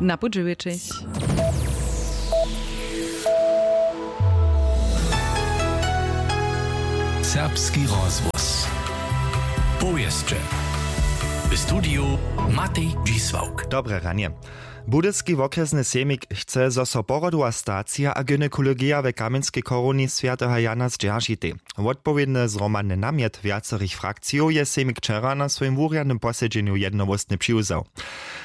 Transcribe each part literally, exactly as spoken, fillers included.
Na pół dźewjećich. Serbski rozhłos. Powěsće. W studiju Matej Dźisławk. Dobre ranje. Budyski wokrjesny sejmik chce, zo so porodowa stacija a gynekologija w Kamjenskej chorowni swjateho Jana zdźeržitej. Wotpowědny zhromadny namjet wjacerych frakcijow je sejmik wčera na swojim wurjadnym posedźenju jednohłósnje přiwzał.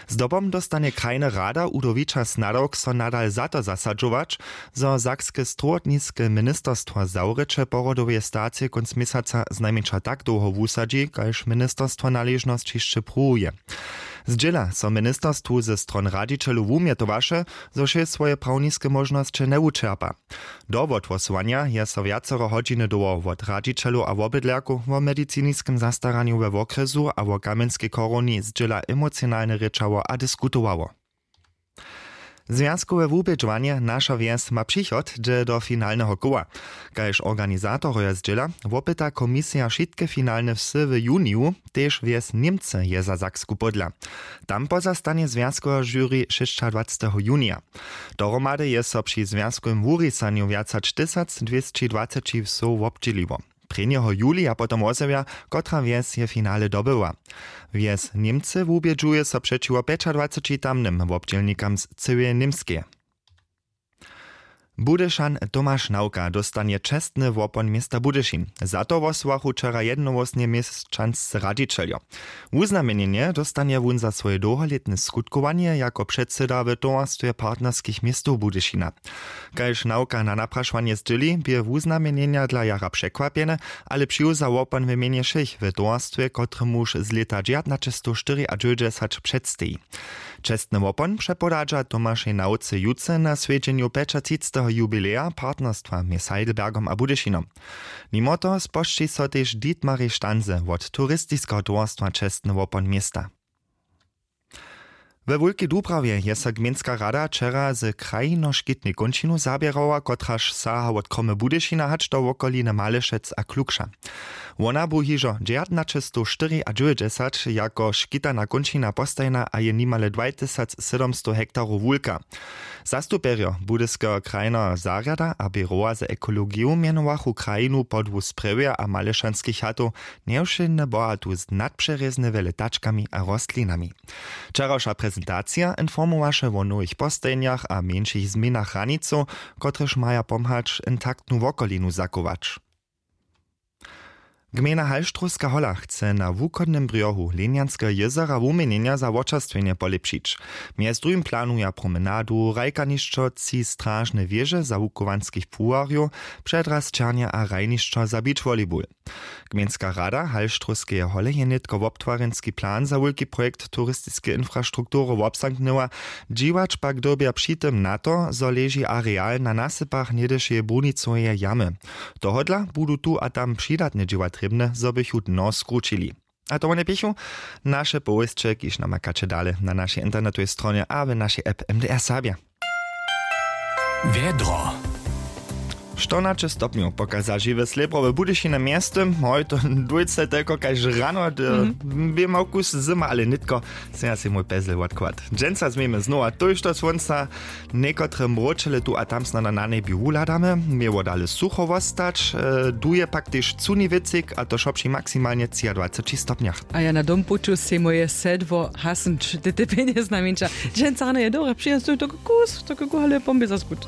Zdobom dóstanje krajny rada Udo Wičas nadawk, so nadal za to zasadźować, zo sakske strowotniske ministerstwo zawrěće porodoweje stacije kónc měsaca znajmjeńša tak dołho wusadźi, kaž ministerstwo naležnosć hišće pruwuje. Zdźěla so ministerstwu ze stron radźićelow wumjetowaše, zo wšě swoje prawniske móžnosće njewučerpa. Do wothłosowanja je so wjacero hodźiny dołho wot radźićelow a wobydlerkow wo mediciniskem zastaranju we wokrjesu a wo Kamjenskej chorowni zdźěla emocionalnje rěčało a diskutowało. Zwjazkowe wubědźowanje Naša wjes ma přichod dźe do finalneho koła. Kaž organizatorojo zdźěla, wopyta komisija wšitke finalne wsy w juniju, tež wjes Němcy je za Saksku pódla. Tam pozastanje zwjazkowe žury šěsćadwaceteho junija. Dohromady je so při zwjazkowym wurisanju wjac hač tysacdwěsćidwaceći wsow wobdźěliło. Prěnjeho julija potom wozjewja, kotra wjes je finale dobyła. Wjes Němcy wubědźuje so přećiwo pjećadwaceći tamnym wobdźělnikam z cyłeje Němskeje. Budyšan Tomaš Nawka dóstanje čestny wopon města Budyšin. Za to wosołachu wčera jednohłósnje měšćanscy radźićeljo. Wuznamjenjenje dóstanje wón za swoje dołholětne skutkowanje jako předsyda w towarstwje partnerskich městow Budyšina. Kaž Nawka na naprašowanje zdźěli, bě wuznamjenjenja dla jara překwapjene, ale přiwza wopon w mjenje wšěch w towarstwje, kotremuž z lěta dźewjatnaćestowštyriadźewjećdźesat předsteji. Čestny wopon přepodadźa Tomašej Nawce jutře na swjedźenju pjećatřiceteho jubileja partnerstwa mjez Heidelbergom a Budyšinom. Nimo toho spožči so tež Dietmarej Stanse wot turistiskeho towarstwa čestny wopon města. We Wulkej Dubrawje je so gmejnska rada wčera z krajinoškitnej kónčinu zaběrała, kotraž saha wot Kromy Budyšina hač do wokoline Malešec a Klukša. Wona bu hižo dźewjatnaćestowštyriadźewjećdźesat jako škitana kónčina postajena a je nimale dwajtysacsydomstow hektarow wulka. Zastupjerjo Budyskeho krajneho zarjada a běrowa za ekologiju mjenowachu krajinu podłu sprjewja a malešanskich chatow, njewšědne bohatu z nadpřerězne wjele tačkami a rostlinami. Wčerawša prezentacija informowaše wo nowych postajenjach a mjeńšich změnach hranicow, kotrež maja pomhać intaktnu wokolinu zachować. Gmejna Halštrowska hola chce na wuchodnym brjohu Lenjanskeho jězera wuměnjenja za wočerstwjenje polěpšić. Mjez druhim planuja promenadu, hrajkanišćo, tři stražne wěže za wuchowanskich płuwarjow, předraz černje a hrajnišćo za beach volleyball. Gmejnska rada Halštrowskeje hole je nětko wobtwarjenski plan za wulki projekt turistiskeje infrastruktury wobzamknyła. Dźiwać pak dyrbja při tym na to, zo leži areal na nasypach něhdyšeje brunicoweje jamy. Tohodla budu tu a tam přidatne dźěła trěbne, zo bychu dno skrućili. A to wone běchu naše powěsće, kiž namakaće dale na našej internetowej stronje a w našej app M D R Serbja. Wjedro. Štyrnaće stopnjow pokaza žiwe slěbro w Budyšinje mjeztym. Hoj, to dwójce telko kaž rano, bě mał kus zyma, ale nětko sym ja sej mój pezel wotkład. Dźensa změjemy znowa tójšto słónca, někotre mróčele tu a tam snano na njebju wuhladamy. Měło dale sucho wostać, duje pak tež cuni wětřik, a to wšo při maksimalnje třiadwaceći stopnjach. A ja na dompuću sej moje sedło hasnć, ty ty pjenje znajmjeńša. Dźensa rano je dobre, přijam stój to kus to kuku ale pombě zas gut.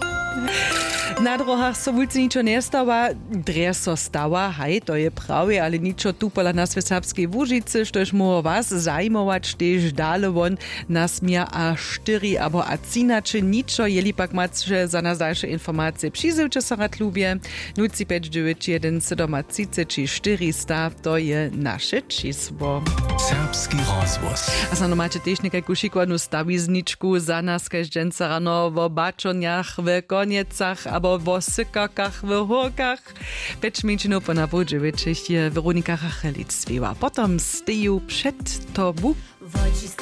Na drohach so wulce ničo njestawa. Drje so stawa, haj, to je prawje, ale ničo tu pola nas w Serbskej Łužicy, štož móhło was zajimować, tež dale won nasměr a štyri abo a třinaće ničo. Jeli pak maće za nas dalše informacije, přizywće so rad lubje. Nul tři pjeć dźewjeć jedyn sydomatřiceći štyristo, to je naše čisło. Serbski rozhłos. A snano maće tež někajku šikowanu stawizničku za nas kaž dźensa rano wo bačonjach w Konjecach abo wo sykarkach w Hórkach. Pjeć mjeńšinow po na poł dźewjećich je Weronika Rachelic spěwa. Potom steju před tobu. Woči